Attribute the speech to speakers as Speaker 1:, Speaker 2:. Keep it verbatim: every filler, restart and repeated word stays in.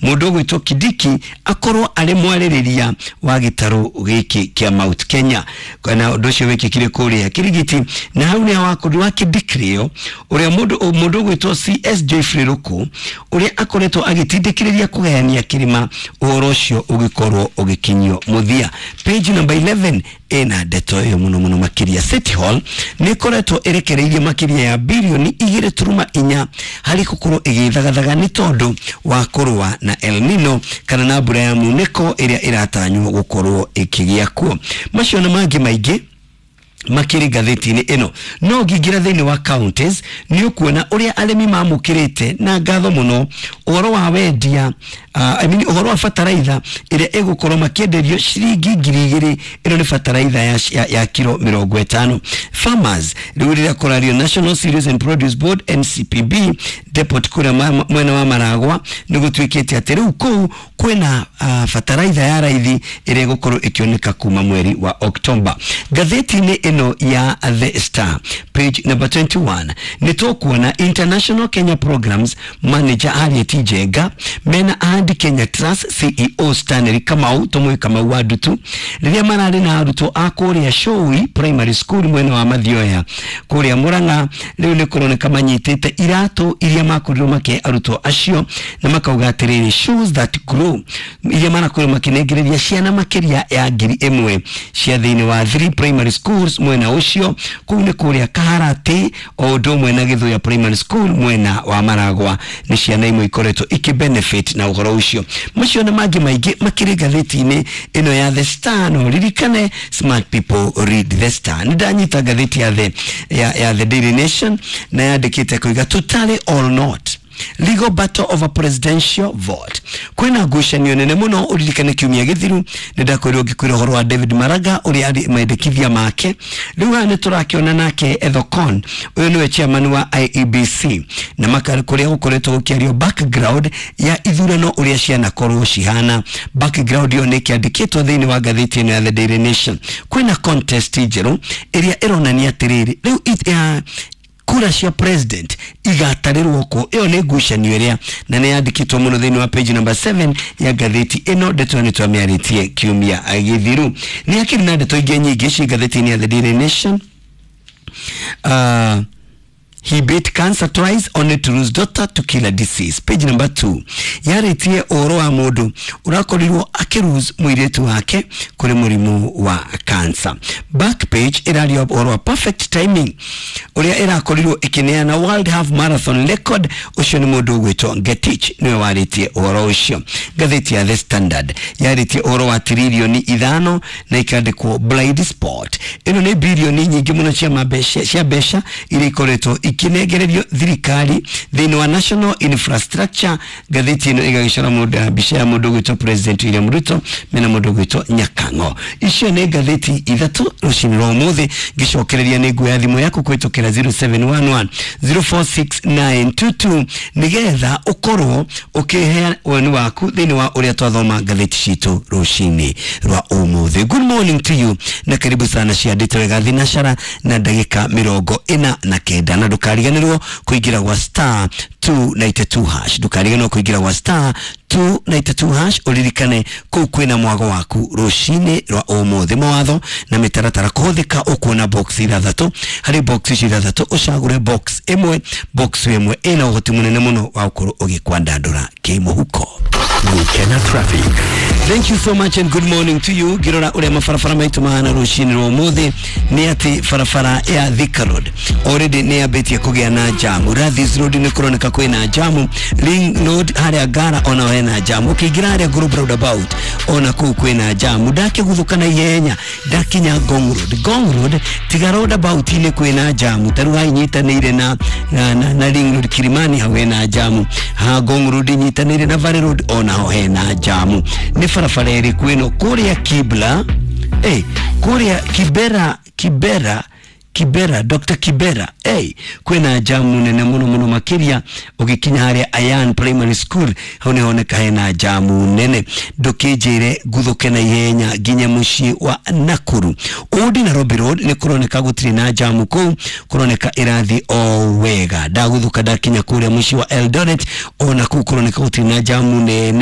Speaker 1: Mũndũ ũgwĩtwo Kindiki akorwo arĩ mwarĩrĩria wa gĩtarũ gĩkĩ kĩa Mount Kenya, na ũndũ ũcio wĩkĩkire kũrĩa Kirigiti, na hau nĩ wakorirwo akĩndikrio ũrĩa mũndũ mũndũ ũgwĩtwo C S Geoffrey Ruku, ũrĩa akoretwo agĩtindĩkĩrĩria kũgayania kĩrĩma, ũhoro ũcio ũgĩkorwo ũgĩkinyio mũthia. Page number eleven ĩna ndeto ĩyo mũno mũno makĩria. City Hall nĩ ĩkoretwo ĩrekereirie makĩria ya birioni igĩrĩ turuma inya harĩ gũkorwo ĩgĩthagathaga nĩ tondũ wa kũrũa na El Nino, kana na mbura ya munĩko ĩrĩa ĩratanywo gũkorwo ĩkĩgĩa kuo. Macio na mangĩ maingĩ makĩrĩ ngathĩti-inĩ ĩno. No ngĩingĩra thĩinĩ wa counties, nĩ ũkuona ũrĩa arĩmi mamũkĩrĩte na ngatho mũno ũhoro wa wendia, uh, I mean, ũhoro wa bataraitha ĩrĩa ĩgũkorwo makĩenderio ciringi ngiri igĩrĩ. Ĩno nĩ bataraitha ya, ya, ya kiro mĩrongo ĩtano. Farmers rĩu rĩrĩa kũrario National Cereals and Produce Board, N C P B depot kũrĩa ma- mwena wa Maragwa, nĩ gũtuĩkĩte atĩ rĩu kũu kwĩna uh, bataraitha ya raithi ĩrĩa ĩgũkorwo ĩkĩoneka kuma mweri wa Oktoba. Ngathĩti-inĩ ĩno ya The Star, page number twenty-one, nĩ tũkuona International Kenya Programs Manager Harriet Njenga mena Ahadi Kenya Trust C E O Stanley Kamau, tũmũĩ Kamau wa Ndutu, rĩrĩa mararĩ na arutwo a kũrĩa Showi Primary School mwena wa Mathioya kũrĩa Murang'a. Rĩu nĩ kũroneka manyitĩte iratũ iria makorirwo makĩhe arutwo acio, na makauga atĩrĩrĩ, "Shoes that grow", iria marakorirwo makĩnengereria ciana makĩria ya ngiri ĩmwe cia thĩinĩ wa three primary schools mwena ũcio. Kũu nĩ kũrĩa Kaharati o ũndũ ũmwe na Gĩthũya Primary School mwena wa Maragwa. Nĩ ciana imwe ikoretwo ikĩbenefit na ũhoro ũcio. Macio na mangĩ maingĩ makĩrĩ ngathĩti-inĩ ĩno ya The Star. No ririkane, smart people read The Star. Nĩ ndanyita ngathĩti ya the, ya, ya The Daily Nation, na yandĩkĩte kuiga "Totally or not, legal battle over presidential vote". Kwĩna ngucanio nene mũno. Ũririkane kiumia gĩthiru nĩ ndakwĩrwo ngĩkwĩra ũhoro wa David Maraga, ũrĩa arĩ mendekithia make. Rĩu haha nĩ tũrakĩona nake Ethekon, ũyũ nĩwe chairman wa I E B C, na maka kũrĩa gũkoretwo gũkĩario background ya ithurano ũrĩa cianakorwo cihana. Background ĩyo nĩ ĩkĩandĩkĩtwo thĩinĩ wa ngathĩti ĩno ya The Daily Nation. Kwĩna contest njerũ ĩrĩa ĩronania atĩrĩrĩ, rĩu it- ya kura cia president igatarĩrwo kũ? Ĩyo nĩ ngucanio ĩrĩa na nĩ yandĩkĩtwo mũno thĩinĩ wa page number seven ya ngathĩti ĩno. Ndeto ĩyo nĩ twamĩarĩtie kiumia gĩthiru. Nĩ hakĩrĩ na ndeto ingĩ nyingĩ ci ngathĩti-inĩ ya The Daily Nation. uh, He beat cancer twice only to lose daughter to killer disease. Page number two. Yarĩtie ũhoro wa mũndũ ũrakorirwo akĩlose mũirĩtu wake kũrĩ mũrimũ wa cancer. Back page ĩraria ũhoro wa perfect timing ũrĩa ĩrakorirwo ĩkĩneana World Half Marathon record. Ũcio nĩ mũndũ ũgwĩtwo Ngetich, nĩwe warĩtie ũhoro ũcio. Ngathĩti ya The Standard yarĩtie ũhoro wa tiririoni ithano na ikandĩkwo "blind spot". Ĩno nĩ birioni nyingĩ mũno cia mabeca, cia mbeca iria ikoretwo ikinengererio thirikari thĩinĩ wa national infrastructure. Ngathĩti ĩno ĩgagĩcora mũndũ, mbica ya mũndũ ũgwĩtwo President William Ruto mena mũndũ ũgwĩtwo Nyakang'o. Icio nĩ ngathĩti ithatũ rũcinĩ rwa ũmũthĩ. Ngĩcokereria nĩ nguoya thimũ yaku kũhĩtũkĩra zero seven one one zero four six nine two two, nĩgetha ũkorwo ũkĩhe woni waku thĩinĩ wa ũrĩa twathoma ngathĩti citũ rũcinĩ rwa ũmũthĩ. Good morning to you na karibu sana. Ciandĩte wega thinacara na ndagĩka mĩrongo ĩna na kenda, na ndũkariganĩrwo kũingĩra gwa star two nine two hash. Ndũkariganĩrwo kũingĩra gwa star two nine two hash. Ũririkane kũu kwĩna mwago waku rũcinĩ rwa ũmũthĩ. Mawatho na mĩtaratara kũhũthĩka. Ũkuona box ithathatũ. Harĩ box icio ithathatũ, ũcagũre box ĩmwe. Box ĩmwe ĩna ũhoti mũnene mũno wa gũkorwo ũgĩkwandandũra kĩmũhuko.
Speaker 2: Gukena Traffic.
Speaker 1: Thank you so much and good morning to you. Ngirora uria mabarabara maitu mahana rucini rwa umuthi, ni ati barabara ya Thika Road already ni yambitie kugĩa na jamu. Rathis Road nĩ kũroneka kwĩna jamu. Ring Road harĩa Ngara ona hena jamu. Ũkĩingĩra harĩa Global Roundabout ona kũu kwĩna jamu. Ndakĩguthũka na ihenya ndakinya Ngong Road. Ngong Road tiga roundabout-inĩ kwĩna jamu. Tarĩu haha inyitanĩire na, na, na, na Ring Road Kilimani, hau hena jamu. Ha Ngong Road inyitanĩire na Valley Road, ona ho hena jamu. Nĩ barabara ĩrĩkũ ĩno? Kũrĩa Kibla, hey, kũrĩa Kibera, Kibera, Kibera, Doctor Kibera, hey, kwĩna jamu nene mũno mũno makĩria. Ũgĩkinya harĩa Ayan Primary School, hau nĩ honeka hena jamu nene. Ndũkĩnjĩre nguthũke na ihenya nginya mũciĩ wa Nakuru. Old Nairobi Road nĩ kũroneka gũtirĩ na jamu kũu, kũroneka ĩrathiĩ o wega. Ndagũthũka ndakinya kũrĩa mũciĩ wa Eldoret, ona kũu kũroneka gũtirĩ na jamu nene.